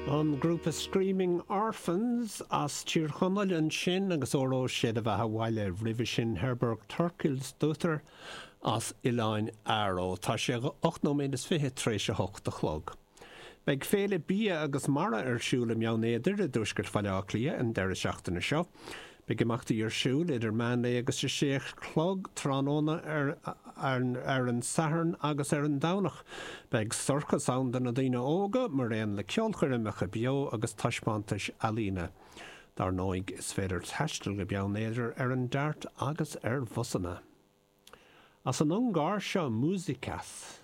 An grúpa Screaming Orphans as Tír Chonaill ansin agus Óró Sé do Bheatha 'Bhaile. Roimhe sin Herborg Thorkilsdóttir as Oileáin Fharó. Tá sé 8 nóiméad is 20 tar éis a hocht a chlog. Beidh Féile Bia agus Mara ar siúl i mBeann Éadair i dtuaisceart Bhaile Átha Cliath an deireadh seachtaine seo. Beidh imeachtaí ar siúl idir meánlae agus a sé a chlog tráthnóna ar ar an Satharn agus ar an Domhnach. Beidh sorcas ann do na daoine óga, maraon le ceolchoirmeacha beo agus taispeántais ealaíne. Dar ndóigh, is féidir taisteal go Beann Éadair ar an DART agus ar bhusanna. As an Ungáir seo Musikas.